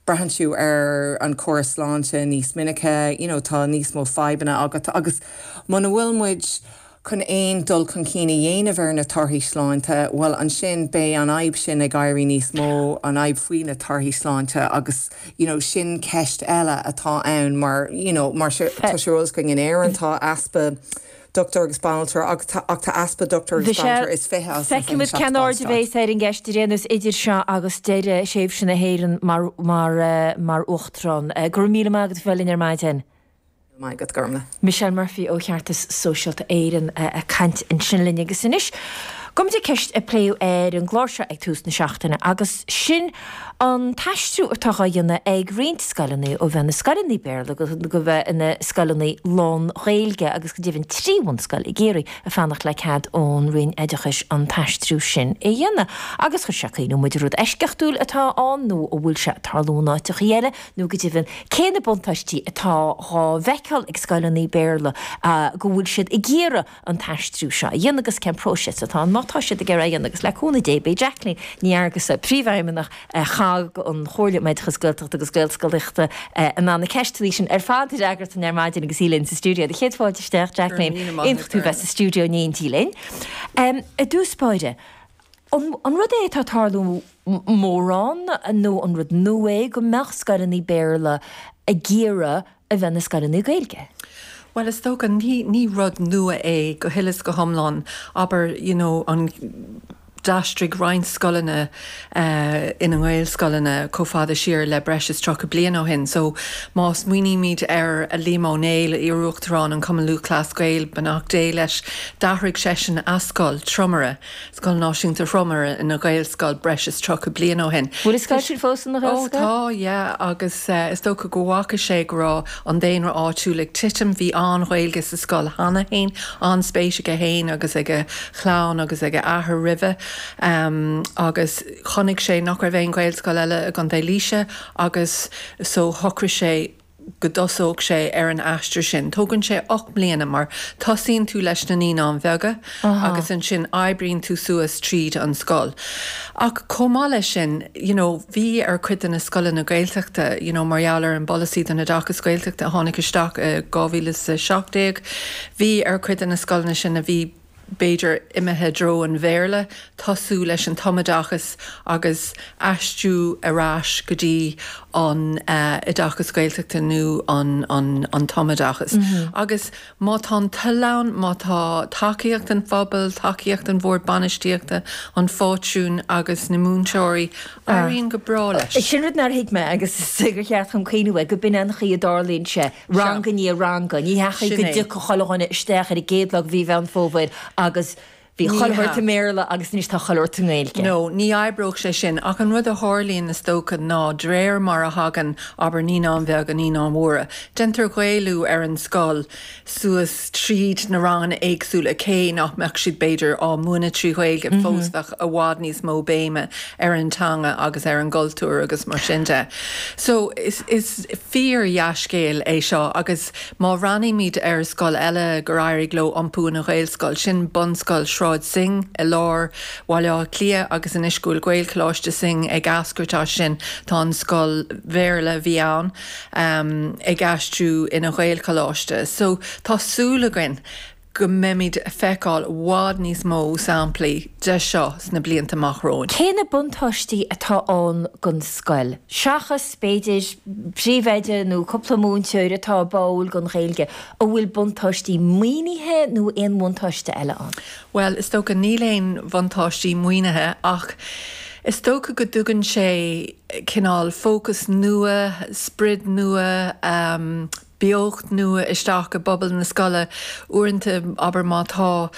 Braitheann tú ar an córas sláinte níos minice, you know, tá níos mó fadhbanna agat agus muna bhfuil muid chun aon dul chun cinn a dhéanamh ar na torthaí sláinte, bhuel ansin beidh an fhadhb sin ag éirí níos mó, an fhadhb faoi na torthaí sláinte agus you know sin ceist eile atá ann mar you know mar tá sé ar eolas againn in Éirinn tá easpa dochtúir agus banaltra ach tá easpa dochtúir agus banaltra is 20 as na Feicfimid 27 cén aird a ballstát. bheas ar an gceist ar aon nós idir seo agus deireadh thréimhse na hÉireann mar mar mar Uachtarán. Go raibh míle maith agat a bheith linn ar maidin. Maith agat, Gormlaith. Michelle Murphy ó Cheartas Sóisialta Éireann ag caint ansin linn agus anois gabhfaimid ag ceist a pléadh ar an gclár seo ag tús na seachtaine agus sin an t-aistriú atá á dhéanamh ag roinnt scoileanna ó bheith ina scoileanna Béarla go bheith ina scoileanna lán-Ghaeilge agus go deimhin 3 bhunscoil i gCiarraí ag fanacht le cead ón Roinn Oideachais an t-aistriú sin a dhéanamh. Agus chuir sé ag cuimhniú muid an rud eisceachtúil atá ann nó an bhfuil sé ag tarlú in áiteachaí eile nó go deimhin cé na buntáistí atá dhá bhfeiceáil ag scoileanna Béarla go bhfuil siad ag iarraidh an t-aistriú seo a dhéanamh agus cén próiseas atá ann má tá siad ag iarraidh é a dhéanamh agus le cúnamh Dé beidh Jacqueline Ní Fhearghusa, Príomhfheidhmeannach COGG, an Chomhairle um Oideachas Gaeltachta agus Gaelscolaíochta, in ann na ceisteanna sin ar fad a fhreagairt dúinn ar maidin agus í linn sa stiúideo. Do chéad fáilte isteach, Jacqueline. Iontach tú bheith sa stiúideo in éindí linn. I dtús báire, an rud é atá ag tarlú mórán nó an rud nua é go mbeadh scoileanna Béarla ag iarraidh a bheith ina scoileanna Gaeilge? Bhuel, is dócha, ní, ní rud nua é go huile is go hiomlán. Abair, you know, an, d'aistrigh roinnt scoileanna ina nGaelscoileanna chomh fada siar le breis is 30 bliain ó shin. So, má smaoinímid ar Liam Ó Néill, iar-uachtarán an Chumann Lúthchleas Gael, beannacht Dé leis, d'athraigh seisean a scoil, Tromaire, Scoil Náisiúnta Thromaire ina Ghaelscoil breis is 30 bliain ó shin. Bhfuil an scoil sin fós ina Ghaelscoil? Ó tá, yeah, agus is dócha go bhfaca sé go raibh an daonra áitiúil ag titim. Bhí an-Ghaeilge sa scoil cheana féin, an-spéis aige féin agus ag a chlann agus ag a athair roimhe agus chonaic sé nach raibh aon Ghaelscoil eile i gContae Laoise agus so shocraigh sé go dtosódh sé ar an aistear sin. Tógann sé 8 mbliana mar tosaíonn tú leis na naíonáin bheaga agus ansin oibríonn tú suas tríd an scoil. Ach chomh maith leis sin, you know, bhí ar chuid de na scoileanna Gaeltachta, you know, mar gheall ar an bpolasaí don oideachas Gaeltachta a tháinig isteach i 2017, bhí ar chuid de na scoileanna sin a bhí, b'fhéidir, imithe i dtreo an Bhéarla, tosú leis an tumoideachas agus aistriú ar ais go dtí an oideachas Gaeltachta nó an tumoideachas. Agus má tá an toil ann, má tá tacaíocht an phobail, tacaíocht an bhord bainistíochta, an phátrúin agus na múinteoirí, éiríonn go breá leis. Sin rud nár thuig mé agus is gur cheart dom cuimhniú air, go b'in an chaoi a dtarlaíonn sé. Rang i ndiaidh ranga. Ní hea go dtiocfadh chuile dhuine isteach ar an gcéad lá de mhí Mheán Fómhair agus bhí chuile shórt i mBéarla agus anois tá chuile shórt i nGaeilge. No, ní oibreodh sé sin. Ach an rud a tharlaíonn, is dócha, ná de réir mar a thagann, abair, naíonáin bheaga, naíonáin mhóra, déantar Gaelú ar an scoil suas tríd na ranganna éagsúla, cé nach mbeadh siad, b'fhéidir, á múineadh trí Ghaeilge fós, bheadh i bhfad níos mó béime ar an teanga agus ar an gcultúr agus mar sin de. So, is, is fíor-dhea-scéal é seo agus má bhreathnaímid ar scoil eile gur éirigh leo iompú ina Ghaelscoil, sin Bunscoil Shráid Synge i lár Bhaile Átha Cliath agus anois go bhfuil Gaelcholáiste Synge ag eascairt as sin, tá an scoil Bhéarla a bhí ann ag aistriú ina Ghaelcholáiste. So, tá súil againn go mbeimid ag feiceáil i bhfad níos mó samplaí de seo sna blianta amach romhainn. Cé na buntáistí atá ann don scoil, seachas, b'fhéidir, príomhoide nó cúpla múinteoir atá báúil don Ghaeilge, an bhfuil buntáistí maoinithe nó aon bhuntáiste eile ann? Bhuel, is dócha, níl aon bhuntáistí maoinithe ach is dócha go dtugann sé cineál fócas nua, sprid nua, beocht nua isteach i bpobal na scoile. Uaireanta, abair, má tá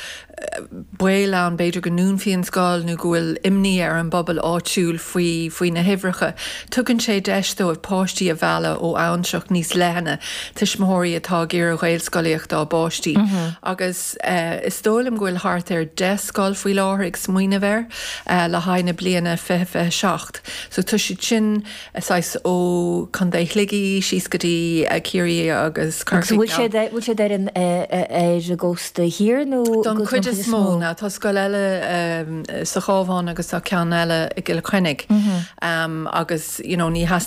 baol ann, b'fhéidir go ndúnfaí an scoil nó go bhfuil imní ar an bpobal áitiúil faoi, faoi na huimhreacha, tugann sé deis dóibh páistí a mhealladh ó abhantrach níos leithne, tuismitheoirí atá ag iarraidh Ghaelscolaíocht dá bpáistí. Agus is dóigh liom go bhfuil thart ar 10 scoil faoi láthair ag smaoineamh air le haghaidh na bliana 2027. So tá siad sin. saghas ó Chontae Shligigh síos go dtí Ciarraí agus Corcaigh. Agus bhfuil siad, bhfuil siad ar an, ar an gcósta thiar nó? Don chuid. chuid is mó. Now tá scoil eile sa Chabhán agus tá ceann eile i gCill Chainnigh agus you know ní theastaíonn.